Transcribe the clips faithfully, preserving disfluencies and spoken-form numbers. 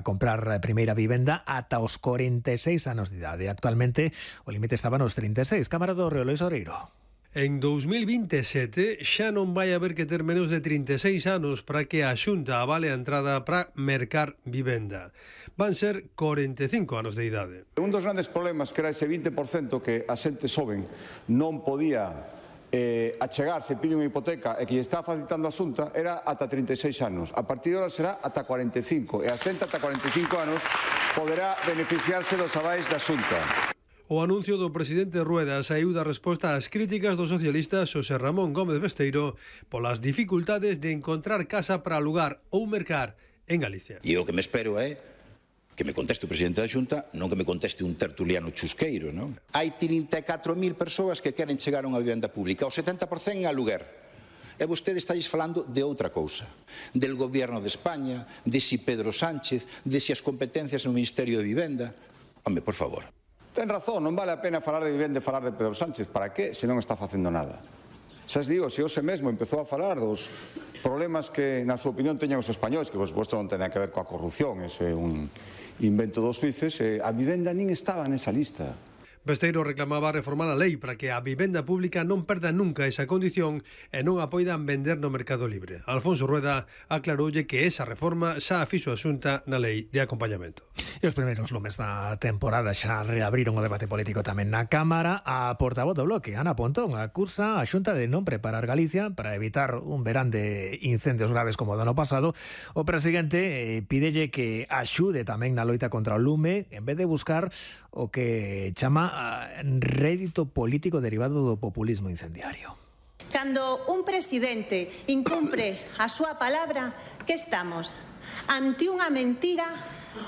comprar a primeira vivenda ata os corenta e seis anos de idade. Actualmente o límite estaba nos trinta e seis. Cámara do Río, Luis Oreiro. En dous mil vinte e sete xa non vai haber que ter menos de trinta e seis anos para que a Xunta avale a entrada para mercar vivenda. Van ser corenta e cinco anos de idade. Un dos grandes problemas que era ese vinte por cento que a xente xoven non podía eh, achegarse, pide unha hipoteca e que lle está facilitando a Xunta era ata trinta e seis anos. A partir de ahora será ata cuarenta e cinco e a xente ata cuarenta e cinco anos poderá beneficiarse dos avais da Xunta. O anuncio do presidente Rueda saíu da resposta ás críticas do socialista Xosé Ramón Gómez Besteiro polas dificultades de encontrar casa para alugar ou mercar en Galicia. E o que me espero é que me conteste o presidente da Xunta, non que me conteste un tertuliano chusqueiro, non? Hai trinta e catro mil persoas que queren chegar a unha vivenda pública, o setenta por cento en aluguer. E vostedes estáis falando de outra cousa, del goberno de España, de si Pedro Sánchez, de si as competencias no Ministerio de Vivenda. Home, por favor. Ten razón, non vale a pena falar de vivenda e falar de Pedro Sánchez. Para que, se non está facendo nada? Xa os digo, se hoxe mesmo empezou a falar dos problemas que, na súa opinión, teñan os españois, que, por suposto, non ten que ver coa corrupción, ese é un invento dos suíces, a vivenda nin estaba nesa lista. Besteiro reclamaba reformar a lei para que a vivenda pública non perda nunca esa condición e non a poidan vender no mercado libre. Alfonso Rueda aclaroulle que esa reforma xa a fixo a Xunta na lei de acompañamento. E os primeiros lumes da temporada xa reabriron o debate político tamén na Cámara. A portavoz do Bloque, Ana Pontón, acusa a Xunta de non preparar Galicia para evitar un verán de incendios graves como o do ano pasado. O presidente eh, pídelle que axude tamén na loita contra o lume en vez de buscar o que chama rédito político derivado do populismo incendiario. Cando un presidente incumpre a súa palabra, que estamos? Ante unha mentira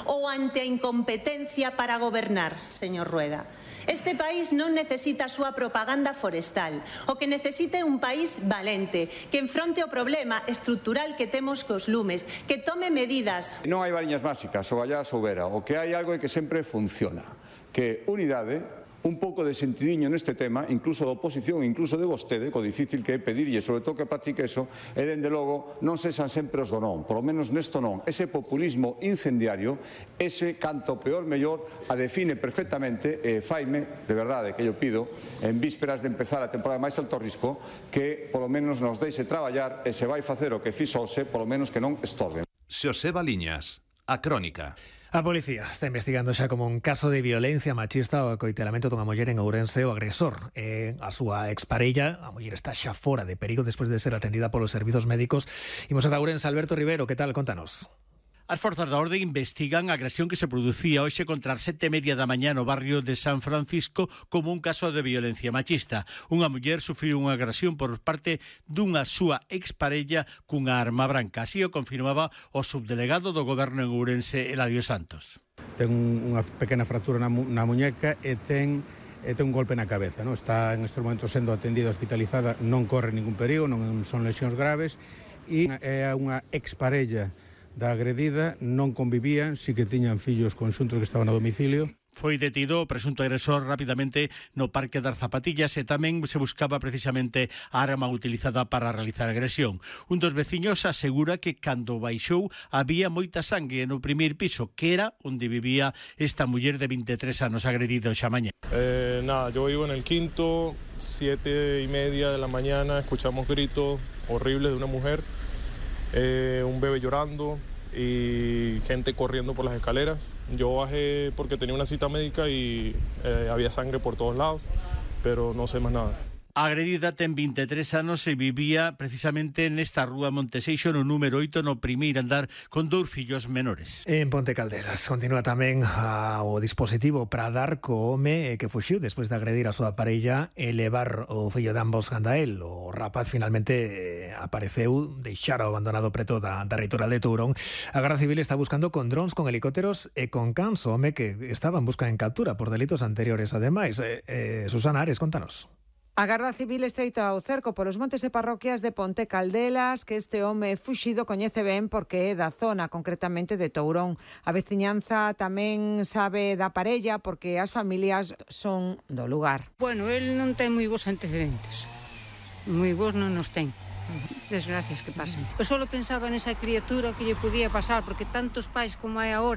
ou ante a incompetencia para gobernar, señor Rueda? Este país non necesita a súa propaganda forestal. O que necesita é un país valente, que enfronte o problema estrutural que temos cos lumes, que tome medidas. Non hai variñas máxicas, ou allá soubera. O que hai algo é que sempre funciona, que unidade, un pouco de sentidiño neste tema, incluso da oposición, incluso de vostede, co difícil que é pedirlle, sobre todo que practique eso, e dende logo non sexan sempre os do non, polo menos nesto non. Ese populismo incendiario, ese canto peor mellor, a define perfectamente, e faime, de verdade, que yo pido, en vísperas de empezar a temporada máis alto risco, que polo menos nos deixe traballar e se vai facer o que fixo hoxe, polo menos que non estorben. Xoseba Liñas, A Crónica. A policía está investigando xa como un caso de violencia machista o coitelamento dunha muller en Ourense. O agresor é a súa exparella. A muller está xa fora de perigo despois de ser atendida polos servizos médicos. Imos a Ourense. Alberto Rivero, que tal? Contanos. As forzas da orde investigan a agresión que se producía hoxe contra as sete e media da mañá no barrio de San Francisco como un caso de violencia machista. Unha muller sufriu unha agresión por parte dunha súa exparella cunha arma branca. Así o confirmaba o subdelegado do goberno en Ourense, Eladio Santos. Ten unha pequena fractura na, mu na muñeca e ten e ten un golpe na cabeza, non? Está en estes momentos sendo atendida hospitalizada, non corre ningún perigo, non son lesións graves e é unha exparella da agredida, non convivían, si que tiñan fillos conxuntos que estaban a domicilio. Foi detido o presunto agresor rapidamente no Parque das Zapatillas e tamén se buscaba precisamente a arma utilizada para realizar a agresión. Un dos veciños asegura que cando baixou había moita sangue no primeiro piso, que era onde vivía esta muller de vinte e tres anos agredida xa mañá. Eh, nada, yo vivo en el quinto, siete y media de la mañana, escuchamos gritos horribles de una mujer, eh, un bebé llorando y gente corriendo por las escaleras. Yo bajé porque tenía una cita médica y eh, había sangre por todos lados, pero no sé más nada. A agredida ten vinte e tres anos e vivía precisamente nesta rúa Monteseixo no número oito no primeiro andar con dous fillos menores. En Ponte Caldelas continúa tamén a, o dispositivo para dar co home que fuxiu despois de agredir a súa parella e levar o fillo de ambos canda el. O rapaz finalmente apareceu deixado abandonado preto da, da reitoral de Tourón. A Garda Civil está buscando con drons, con helicópteros e con cans o home que estaba en busca en captura por delitos anteriores. Ademais, eh, eh, Susana Ares, contanos. A Garda Civil estreita ao cerco polos montes e parroquias de Ponte Caldelas, que este home fuxido coñece ben porque é da zona, concretamente de Tourón. A veciñanza tamén sabe da parella porque as familias son do lugar. Bueno, el non ten moi bons antecedentes. Moi bons non nos ten. Desgracias que pasen. Eu só pensaba nesa criatura que lle podía pasar, porque tantos pais como hai agora